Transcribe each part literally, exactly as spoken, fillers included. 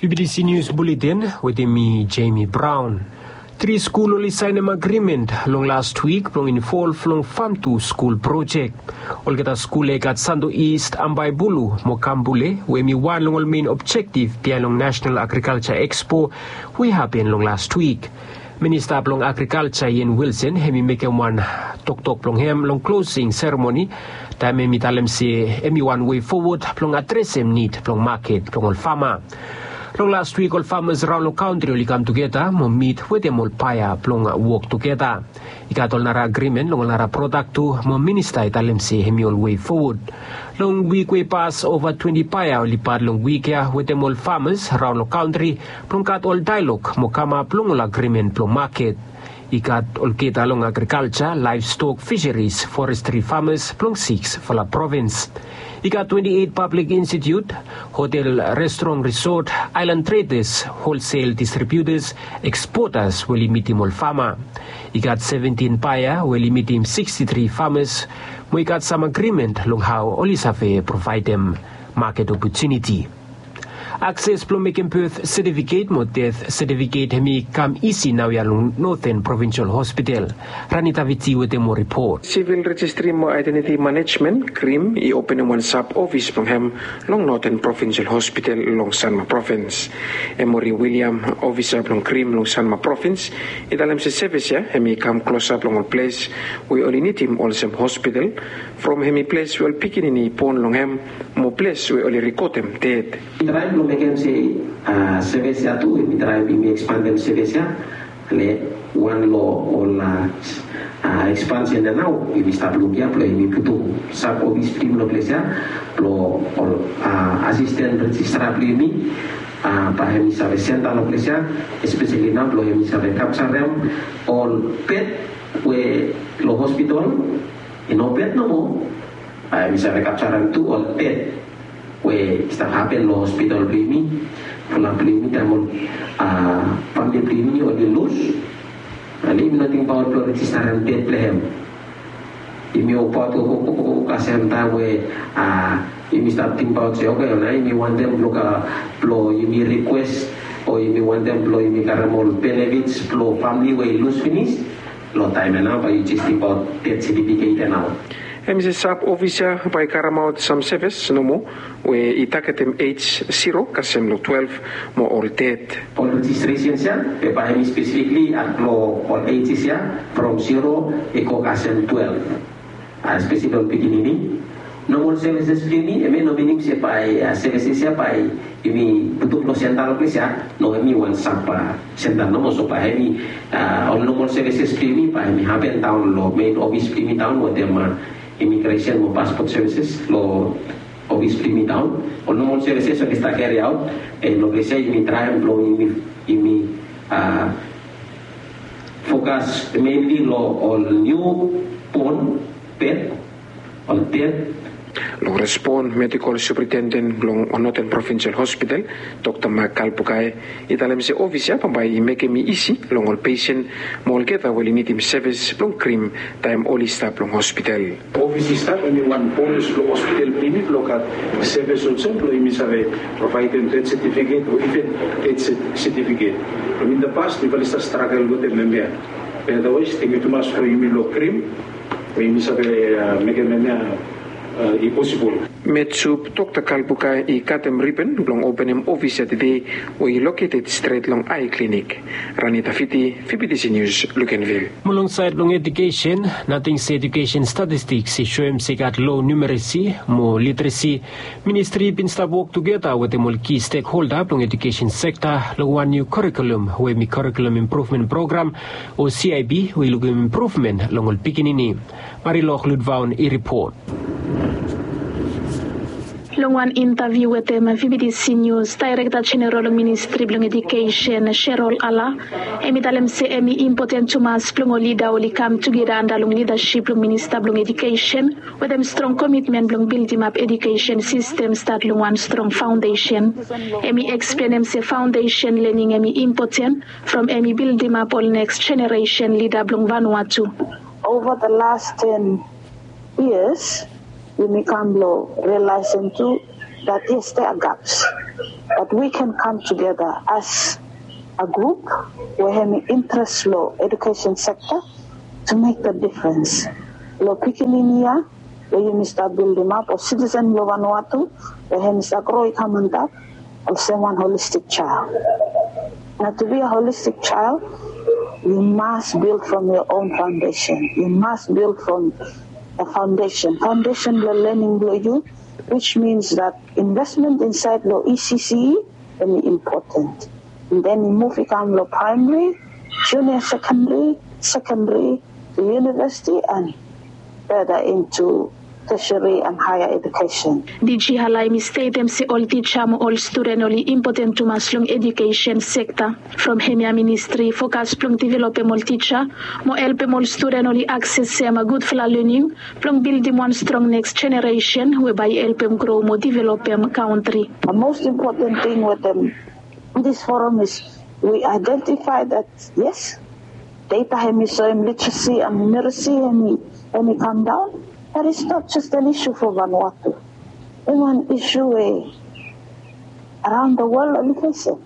B B T C News Bulletin wetem mi, Jamie Brown. Tri skul oli saenem agrimen long las wik blong involv long fam tu skul projek. Olgeta skul ya i gat Santo East, Ambaibulu mo Kambule, we hem i wan long ol mein objektif biaen long National Agriculture Expo we i hapen long las wik. Minista blong Agrikalja, Ian Wilson, hem i mekem wan toktok blong hem long klosing seremoni, taem hem i talem se hem i wan wei fowod blong adresem nid blong maket blong ol fama. Long las wik ol famas raon long kantri oli kam tugeta mo mit wetem ol baea blong wok tugeta. I gat ol nara agrimen long ol nara prodak tu, mo minista i talem se hem i ol wei fowod. Long wik we i pas, ova twenti baea oli pat long wik ya wetem ol famas raon long kantri blong gat ol daelog mo kamap long ol agrimen blong maket. I gat olgeta long agrikalja, laevstok, fiseris, forestri famas blong siksfala provins. I gat twenti eit pablik institiut, hotel, restoran, risot, aelan tredas, holsel distribiutas, ekspotas we oli mitim ol fama. I gat seventin baea we oli mitim sikstitri famas, mo i gat sam agrimen long hao oli save provaedem maket opotuniti. Akses blong mekem beth setifiket mo deth setifiket hem i kam isi naoia long Noten Provinsial Hospital. Ranita Viti wetem moa ripot. Sivil Rejistri mo Aedentiti Manejmen, krim, i openem wan sab ofis blong hem long Noten Provinsial Hospital long Sanma Provins. Emory William, ofisa blong krim long Sanma Provins, i talem se sevis ya hem i kam klosap long ol ples we oli nidim olsem hospital, from hem i ples we ol pikinini i bon long hem, mo ples we oli rekodem ded. Mi traem blong mekem se, a, sevis ya tu, mi traem, mi ekspandem sevis ya. Ale, wan long ol, a, a, ekspansen ya nao, yumi stap luk ya blong yumi putum sab ofis blong yumi long ples ya, blong ol, a, asisten rejistra blong yumi, a, bae hem i save senda long ples ya, espeseli nao blong hem i save kapjarem ol bed we long hospital i no bed nomo, a, hem i save kapjarem tu ol ded we i stap hapen long hospital blong yumi, fulap blong yumi taem ol, a, famili blong yumi oli lus. Ale yumi no tingbaot blong rejistarem ded blong hem. Yumi wokabaot, wokabaot, wokabaot kasem taem we, a, yumi stap tingbaot se, oke, nao yumi wantem blong, a, blong yumi rikwes, o yumi wantem blong yumi karem ol benefits blong famili we i lus finis. Long taem ya nao bae yu jes tingbaot ded setifiket ya nao. Hem i se sab ofis ya bae i karemaot sam sevis nomo we i tagetem ej ziro kasem long twelef mo ol ded. Ol rejistresens ya, be bae hem i spesifikli at long ol ejis ya, from ziro i go kasem twelef. A, espeseli ol pikinini. Nomol sevises blong yumi, hemia i no minim se bae, a, sevises ya bae yumi putum long senta long ples ya. No, hemi wan sab, a, senta nomo, so bae hemi, a, ol nomol sevises blong yumi bae hemi hapen daon long mein ofis blong yumi daon wetem, a, imigresen mo paspot sevises long ofis blong yumi daon. Ol nomol sevises oli stap keri aot, and long ples ya yumi traem blong yumi, yumi, a, fokas menli long ol niubon bed, ol ded. Long respon, medikol superintenden blong Noten Provinsial Hospital, Dokta Mak Kalbukai, i talem se ofis ya bambae i mekem i isi long ol pesen mo olgeta we oli nidim sevis blong krim taem oli stap long hospital. Ofis i stap, hemi wan bonas blong hospital blong yumi blong gat sevis olsem blong yumi save provaedem ded setifiket o iven ded set-, setifiket. Long in the past mifala i stap stragel wetem hemia. Be otherwise, tangkiu tumas long yumi long krim we yumi save, a, mekem hemia, a, i posibol. Medsup Dokta Kalbukai i katem riben blong openem ofis ya tede we i loketed stret long Ai Klinik. Ranita Viti, V B T C News, Luganville. Mo long saed blong ejukesen, nating se ejukesen statistiks i soem se i gat lo numeresi mo literesi. Ministri i bin stap wok tugeta wetem ol ki stekholda blong ejukesen sekta long wan niu kurikulum we hemi Kurikulum Impruvmen Program o C I P we i lukim impruvmen long ol pikinini. Marilok Ludvaon i ripot. Long wan intaviu wetem V B T C News, Daerekta Jeneral long Ministri blong Ejukesen, Sherol Ala, hemi talem se hemi impoten tumas blong ol lida oli kam tugeta anda long lidasip blong Minista blong Ejukesen wetem strong komitmen blong bildimap ejukesen sistem stat long wan strong faondesen. Hemi eksplenem se faondesen lening hemi impoten from hemi bildimap ol neks jeneresen lida blong Vanuatu. Over the last ten years, yumi kam blong rialaesem tu that yes, there are gaps, but we can come together as a group we hemi interest long education sector to make the difference. Long pikinini ya we yumi stap building up, o citizen long Vanuatu we hemi stap grow i come on top, olsem one holistic child. Now, to be a holistic child, you must build from your own foundation. You must build from a foundation. Foundation long learning below you, which means that investment inside lo E C C E very important. And then you move, you come lo primary, junior secondary, secondary, to university, and further into tertiary and higher education. Diji Hala hemi stetem se ol tija mo ol studen oli impoten tumas long edukesen sekta. From hemia ministri fokas blong developem ol tija mo helpem ol studen oli aksesem gudfala lening blong bildim wan strong neks jeneresen we bae i helpem gro mo developem kantri. The most important thing wetem this forum is we identify that yes, data hemi soem literacy and numeracy hemi, hemi come down. That is not just an issue for Vanuatu. Hemi wan issue we around the world oli fesem.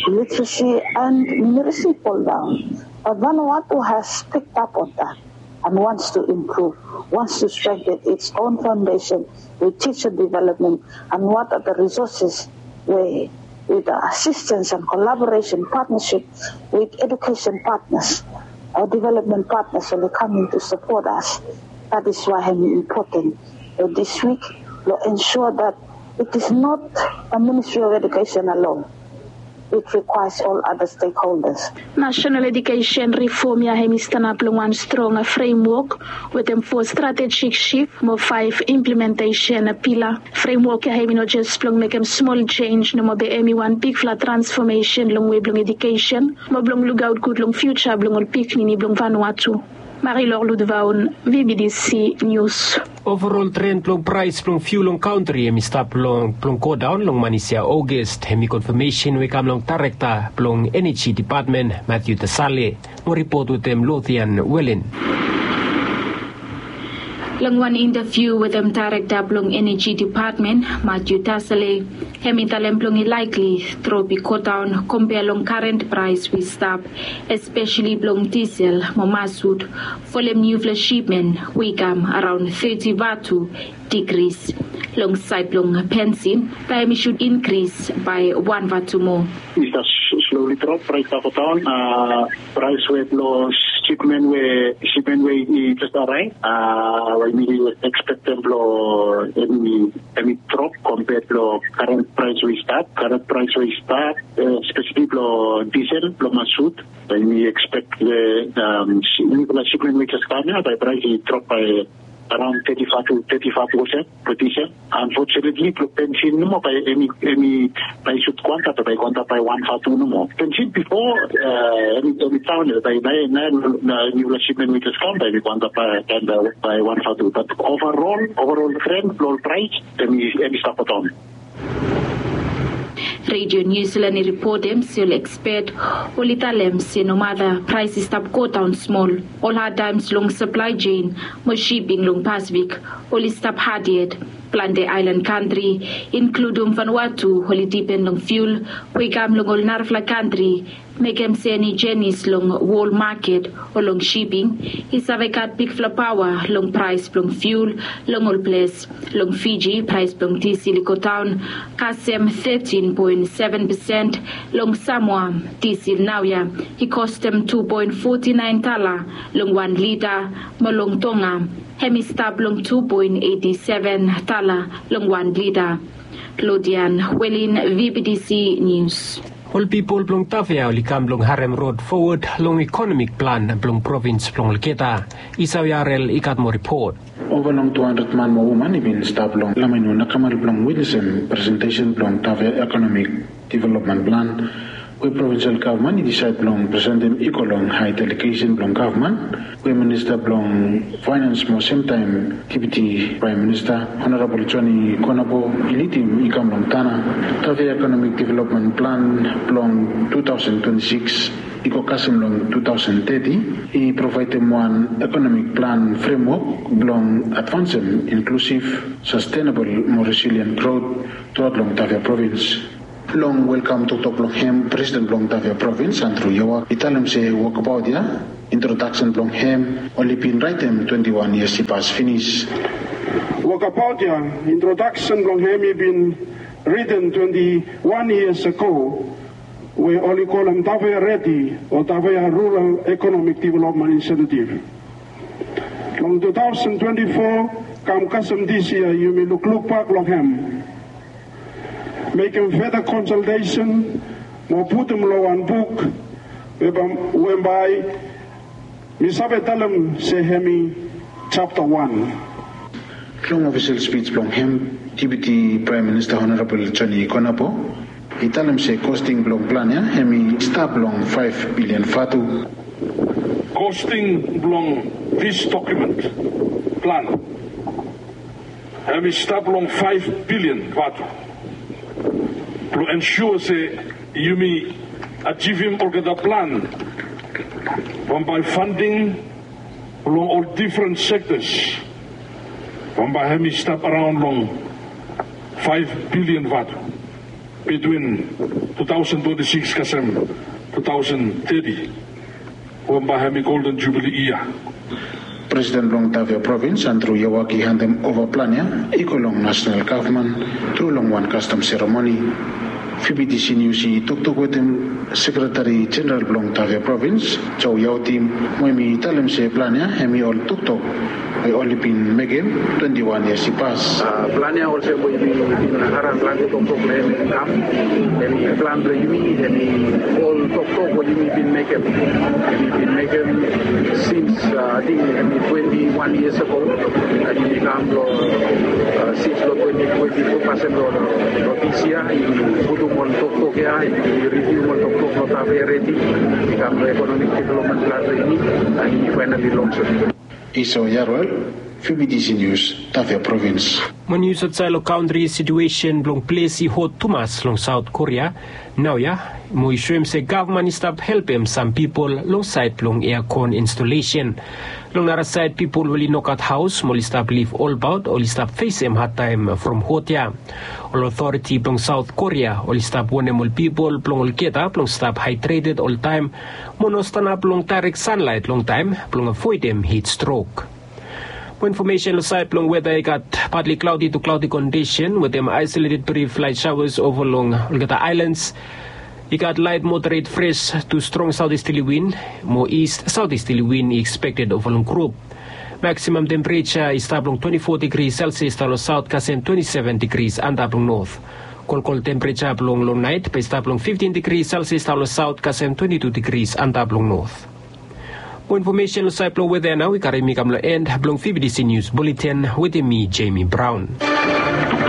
Literacy and numeracy fall down. But Vanuatu has picked up on that and wants to improve, wants to strengthen its own foundation with teacher development and what are the resources we, with the assistance and collaboration partnership with education partners or development partners oli coming to support us. That is why hemi important lo this week lo ensure that it is not a Ministry of Education alone. It requires all other stakeholders. National Education Reform ya hemi stanap long wan strong fremwok wetem fo stratejik shif mo faef implementesen pila. Fremwok ya hemi no jes blong mekem smol jenj nomo be hemi wan bigfala transfomesen long wei blong edukesen mo blong lukaot gud long fiuja blong ol pikinini blong Vanuatu. Marilor Ludvaun, V B D C News. Overol tren blong praes blong fiul long kantri hemi stap long blong godaon long manis ya Ogest, hemi konfamesen we i kam long Daerekta blong Eneji Depatmen Matthew Tasale. Mo ripot wetem Lothian Welen. Long wan intaviu wetem Daerekta blong Eneji Depatmen Matthew Tasale, hemi talem blong i laekli drop i godaon kompea long karen praes we i stap, espeseli blong disel mo masut, folem niufala sipmen we i kam araon teti vatu digris. Long saed blong bensin bae hemi sud inkris bae wan vatu moa. I stap slowly drop, praes i stap godaon. Praes we blong sipmen we, sipmen we i jes araev, we yumi ekspektem blong hemi, hemi drop kompea blong karen praes we i stap, karen praes we i stap, espeseli blong disel blong masut. Bae yumi ekspek niufala sipmen we i jes kam ya bae praes i drop bae araon teti faev tu teti faev pesen blong disel. Unfortunately blong bensin nomo bae hemi, hemi bae i sud go antap, bae i go antap bae wan vatu nomo. Bensin bifo hemi, hemi daon ya, bae naoia niufala sipmen we i jes kam bae hemi go antap bae, bae wan vatu. But overall, overall tren blong ol praes hemi, hemi stap godaon. Radio New Zealand i ripotem se ol ekspet oli talem se nomata praes i stap godaon smol, ol hadtaems long saplae jen mo siping long Pasifik oli stap had yet. Plante aelan kantri, inkludum Vanuatu, oli dipen long fiul we i kam long ol narafala kantri, mekem se eni jenis long wol maket o long siping i save gat bigfala paoa long praes blong fiul long ol ples. Long Fiji praes blong disel i godaon kasem tetin poen seven pesen. Long Samoa, disel naoia i kostem tu poen foti naen tala long wan lita, mo long Tonga hemi stap long tu poen eiti seven tala long wan lita. Lodian Welin, V B D C News. Ol pipol blong Tafea oli kam blong harem rod fowod long ikonomik plan blong provins blong olgeta. Isau Yarel i gat moa ripot. Ova long tu handred man mo woman i bin stap long Lamanio nakamal blong witnesem presentesen blong Tafea ikonomik developmen plan We provinsel gavman i disaed blong presentem i go long hae delegesen blong gavman we minista blong faenans mo semtaem depiti praem minista honorabol Joni Konabo i lidim i kam long tana. Tavea ekonomik developmen plan blong tu taosen twenti sikis i go kasem long tu taosen teti i provaedem wan ekonomik plan fremwok blong advansem inklusif, sastenabol mo resilien grot truaot long Tavea provins. Long welkam toktok blong hem presiden blong Tavea provins Andrew Yawak i talem se wokabaot ya introdaksen blong hem oli bin raetem twenti wan yias i pas finis. Wokabaot ya introdaksen blong hem i bin riden twenti wan yias ago we oli kolem Tavea Redi o Tavea Rural Ekonomik Developmen Inisiativ. Long tu taosen twenti fo kam kasem dis yia yumi lukluk bak long hem. Mekem feta konsaltesen mo putum long wan buk we bae mi save talem se hem i japta wan. Long ofisel spij blong hem depiti praem minista honorabol Joni Konabo i talem se kosting blong plan ya hem i stap long faef bilian vatu. Kosting blong dis dokumen plan hem i stap long faef bilian vatu blong ensua se yumi ajivim olgeta plan bambae fanding blong ol difren sektas bambae hem i stap araon long faef bilian vatu bitwin tu taosen twenti sikis kasem tu taosen teti. Bambae hem i golden jubili yia. Presiden blong Tavea provins Andrew Yawak i handem ova plan ya i go long nasenal gavman tru long wan kastom seremoni. Fibitisi nius i toktok wetem sekretari jeneral blong Tavea provins Joe Yautim mo hem i talem se plan ya hem i ol toktok we oli bin mekem twenti wan yias i pas. Plan ya olsem we yumi bin harim planti toktok blong hem i kam hem i plan blong yumi hem i ol toktok we yumi bin mekem hem i bin mekem sins ating hem i twenti wan yias ago. Hem i kam long sins long twenti twenti tu kasem long dis yia i putum ol toktok ya i riviu ol toktok long Tavea Redi i kam long ekonomik developmen plan blong yumi. Hem i faenali long sot. Iso Yaruel, Fibitisi Nius, Tavea provins. Mo nius aotsaed long kantri, situesen blong ples i hot tumas long Saot Korea naoia mo i soem se gavman i stap helpem sam pipol long saed blong eakon instolesen. Long nara saed pipol we oli nogat haos mo oli stap liv olbaot oli stap fesem hadtaem from hot ya. Ol otoriti blong Saot Korea oli stap wonem ol pipol blong olgeta blong stap haedreted oltaem mo no stanap long daerek sanlaet longtaem blong avoedem hit strok. Mo infomesen long saed blong weta i gat patli klaodi tu klaodi kondisen wetem aesoleted brif laet saoas ova long olgeta aelans. I gat laet moderet fres tu strong saotisteli win mo ist saotisteli win i ekspekted ova long grup. Maksimam tempereja i stap long twenti fo digri selsias daon long saot kasem twenti seven digri antap long not. Kolkol tempereja blong long naet bae i stap long fiftin digri selsias daon long saot kasem twenti tu digri antap long not. Mo infomesen long saed blong weta ya nao i karim mi kam long en blong fibidisi nius buletin wetem mi Jemi Braon.